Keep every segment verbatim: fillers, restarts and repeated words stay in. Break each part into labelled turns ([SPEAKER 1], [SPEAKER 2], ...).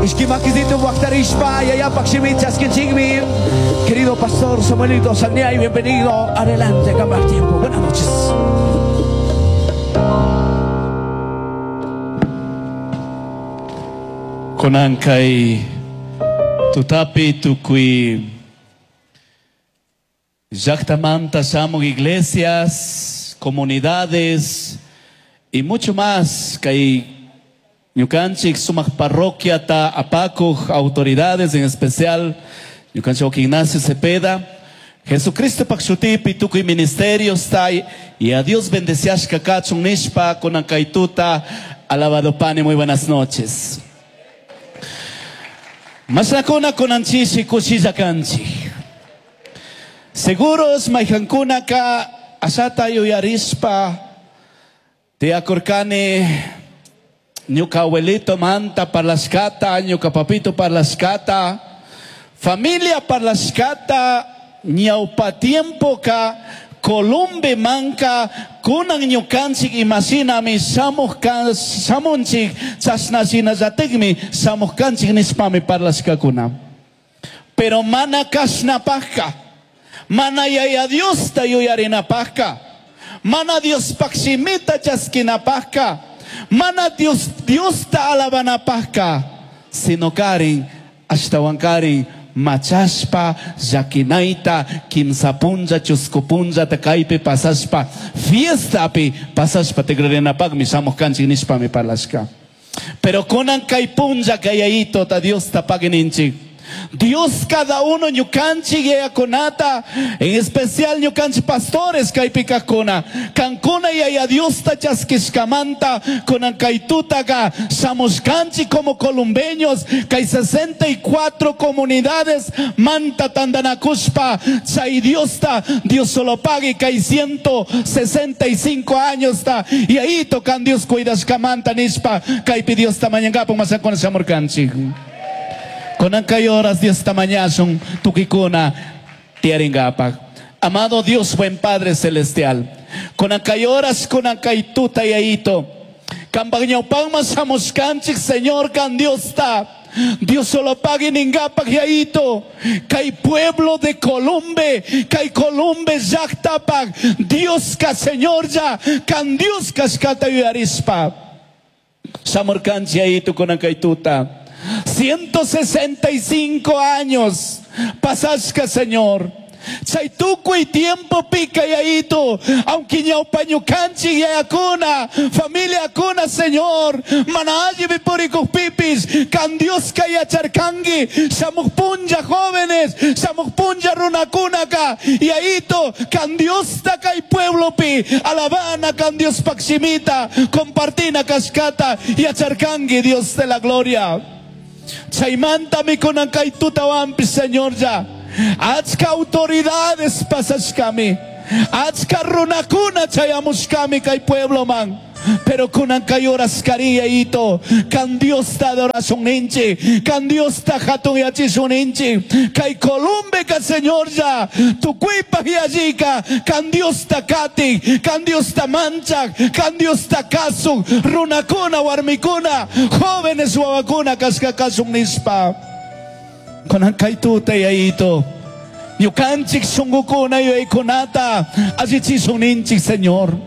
[SPEAKER 1] Ishki makisito waktarishpa yayapak shimi chaskinchikmi. Querido pastor Samuelito Salniay, bienvenido. Adelante, acaba el tiempo. Buenas noches.
[SPEAKER 2] Kunankay tutapi tukuy llaqtamanta shamuq iglesias, comunidades y mucho más kay ñukanchik sumaq parroquia ta apakuq autoridades, en especial ñukanchik Ignacio Cepeda, Jesucristo pak shutipi tukuy ministerios ta y a Dios bendeciashka kachun nishpa kunankay tuta. Alabado pani, muy buenas noches. Masakuna kunanchishi kushilla kanchik. Seguros mayhankuna ka ashata yuyarispa tiakurkani ñuka abuelito manta parlashkata, ñuka papito parlashkata, familia parlashkata, ñawpa tiempo ka Columbe manka kunan ñukanchik imashinami shamuj kan shamunchik chashnashinallatikmi shamuj kanchik nishpami parlashkakuna. Pero mana kashnapajka, mana yaya Diosta yuyarinapajka, mana Diospaj shimita chaskinapajka, mana Dios Diosta alabanapajka, sino karin ashtawan karin machashpa llaquinaita kimsa punlla chusku punlla kaypi pasashpa fiestapi pasashpa tikrarinapaqmi shamuj kanchik nishpami parlashka. Pero kunan kay punlla kayayito ta Diosta pagininchik. Dios cada uno ñukanchik yayakunata, en especial ñukanchik pastores kaypi kajkuna, kankuna yaya Diosta chaskishkamanta kunan kay tutaka shamushkanchik como columbeños kay sesenta y cuatro comunidades manta tandanakushpa chay Diosta Dios solo pague kay ciento sesenta y cinco años ta y ahí tocan Dios cuidashkamanta nishpa kaypi Diosta mañankapu masakuna shamurkanchik. Kunan kay horas Dios tamañasun tukikuna tiaringapak. Amado Dios, buen Padre Celestial. Kunan kay horas, kunan kay tuta yaito. Kambag ñawpang masamuskanchik, Señor, kan Dios ta. Dios solo pague ningapak yaito. Kay pueblo de Columbe, kay Columbe llaqtapak. Dios ka Señor ya, kan Dios kashkata yuyarispa. Samurkanchik yaito kunan kay tuta. ciento sesenta y cinco años pasashka, Señor. Chay tukuy tiempo pica yaito, aunque ñawpa ñukanchik yayakuna, familia kuna, Señor, mana alli purikukpipis, kan Dios ka yacharkanki, shamuj punlla jóvenes, shamuj punlla runakunaka, yaito, kan Dios ta kay pueblopi, alabana kan Dios pakshimita, compartina kashkata, yacharkanki, Dios de la gloria. Chaymanta mikunan kay tutawanpis, Señor, ya. Achka autoridades pasashkami, achka runakuna chayamushkami kay pueblo man. Pero kunan kay horas kariya ito, kan Dios ta adoración ninchi, kan Dios ta hatun yachishun ninchi, kay Columbe ka Señor ya, tukuypaj yallika, kan Dios ta kati, kan Dios ta manchak, kan Dios ta kasuk, runakuna, warmikuna, jóvenes wawakuna kashka kasuk nispa. Kunan kay tuta yaito, ñukanchik shunqukuna yuyaykunata allichishun ninchik, Señor.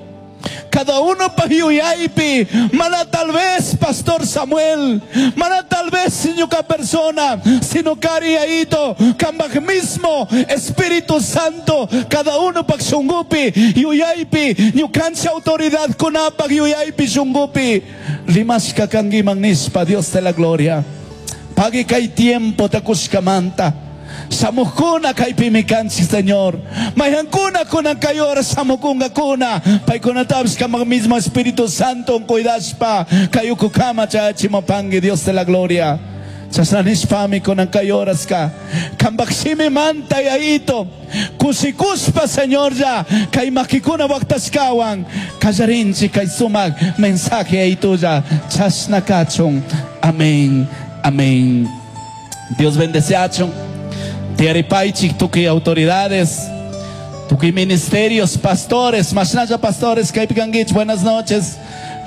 [SPEAKER 2] Cada uno pa yuyaypi, mana tal vez Pastor Samuel, mana tal vez ñuka persona, sino kari yaito, kambaj mismo Espíritu Santo, cada uno pa shungupi, yuyaypi, ñukanchik autoridad kunapak yuyaypi shungupi, rimashka kangiman nispa, Dios de la gloria. Pagi kay tiempo takushkamanta. Samukuna kaypimi kanchik, Señor. Mayhankuna kunan kay hora samukunga kuna. Paykuna tabs kamag mismo Espíritu Santo cuidaspa. Kayukukama chachimapangi, Dios de la gloria. Chasnanishpami kunan kay horas ka. Kambakshimi manta yaito. Kusikuspa, Señor, ya. Kay makikuna waktashkawan. Kallarinchi kay sumak mensaje yaito ya. Chasnakachun. Amén. Amén. Dios bendice a Tiaripaichik, tuki autoridades, tuki ministerios, pastores, mashnaya pastores, kaipikangich, buenas noches.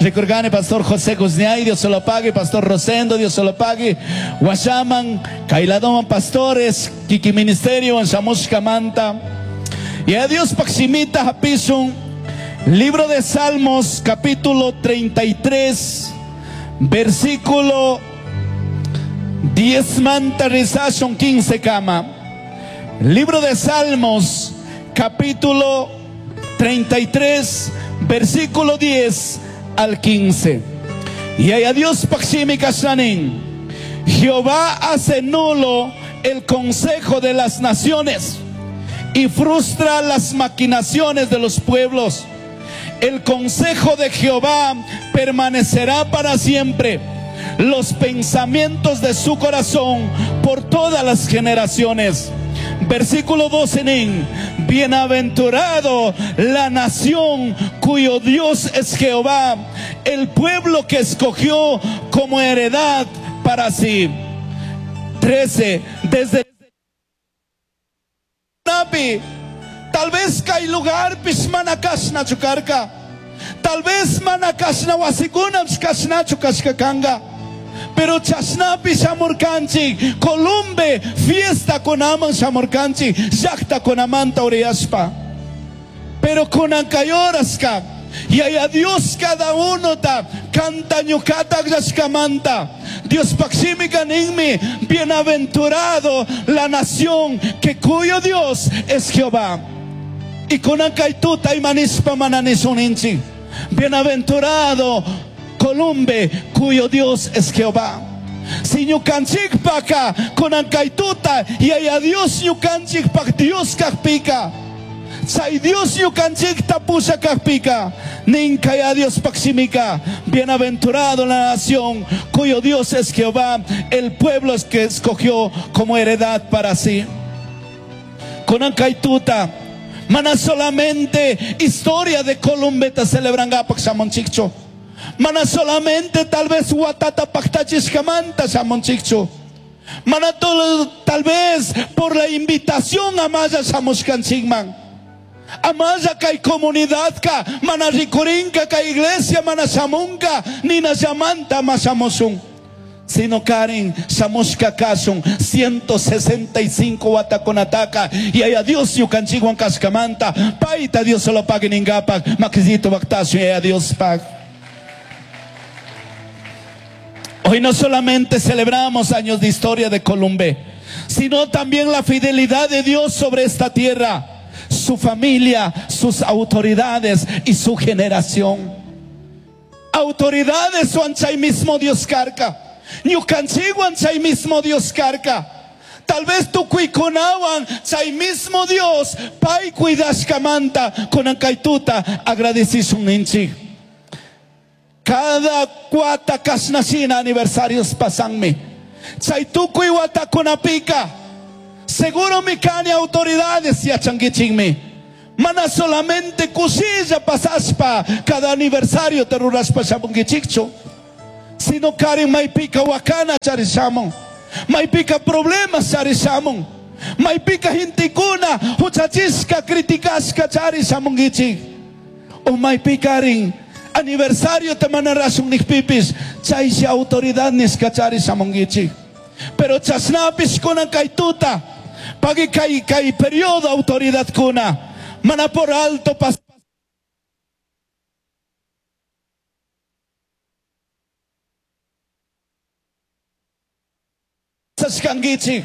[SPEAKER 2] Recordane Pastor José Guzniay, Dios se lo pague, Pastor Rosendo, Dios se lo pague, Guayaman, Kailadoman Pastores, Kiki Ministerio, Shamushka Manta. Y a Dios Paximita Hapisun, libro de Salmos, capítulo treinta y tres, versículo diez manta rizashon quince kama. Libro de Salmos, capítulo treinta y tres, versículo diez al quince. Y a Dios paximi kashanin. Jehová hace nulo el consejo de las naciones y frustra las maquinaciones de los pueblos. El consejo de Jehová permanecerá para siempre, los pensamientos de su corazón por todas las generaciones. Versículo doce, nin, bienaventurado la nación cuyo Dios es Jehová, el pueblo que escogió como heredad para sí. trece, desde Nabi, tal vez kay lugar pismanakashna chukarka, tal vez manakashna wasikunam kashna chukashkakanga. Pero chasnapi shamurkanchik, Columbe fiesta kunaman shamurkanchik, llaqta kunamanta uriyashpa. Pero kunankayoraska, y a Dios cada uno ta canta ñucata llashkamanta. Dios paximi kaninmi, bienaventurado la nación que cuyo Dios es Jehová. Y kunankaytuta imanispa mananisuninchik, bienaventurado Columbe cuyo Dios es Jehová. Si ñukanchik paka kunankaituta y a Dios ñukanchik pak Dios kakpika. Say Dios ñukanchik tapusa kakpika. Ninkaya Dios paximika. Bienaventurado la nación cuyo Dios es Jehová, el pueblo que escogió como heredad para sí. Kunankaituta mana solamente historia de Columbe ta celebran gapak shamonchikcho. Mana solamente tal vez watata paktachishkamanta shamonchikchu. Mana todo, tal vez por la invitación a maya shamushkanchikman. Amaya kay comunidad ka, mana rikurinka kay iglesia mana shamunka, nina shamanta ma shamushun. Sino Karen, shamushka kasun, ciento sesenta y cinco watakunataka, y a Dios ñukanchikwan kashkamanta, paita Dios se lo pague ningapak, makisito baktasun, y a Dios pag. Hoy no solamente celebramos años de historia de Columbe, sino también la fidelidad de Dios sobre esta tierra, su familia, sus autoridades y su generación. Autoridades wanchay mismo Dios carca. Ñukanchikwan chay mismo Dios carca. Tal vez tu kuikunawan chay mismo Dios pay cuidashkamanta kunankaituta agradecisun ninchik. Cada cuata kashnashina aniversarios pasanmi. Chay tukuy watakunapika. Seguro mi kani autoridades yachankichikmi. Mana solamente kusilla pasaspa cada aniversario te ruraspa shamunkichikchu. Sino karin maypika wakana charishamun. Maypika problemas charishamun. Maypika hintikuna huchachishka criticashka charishamunkichik. O maypikarin aniversario te manarasun nikpipis chayshi autoridad niska charishamunkichik. Pero chasnapis kunan kaytuta pagi kay kay periodo autoridad kuna mana por alto pas pasashkankichik.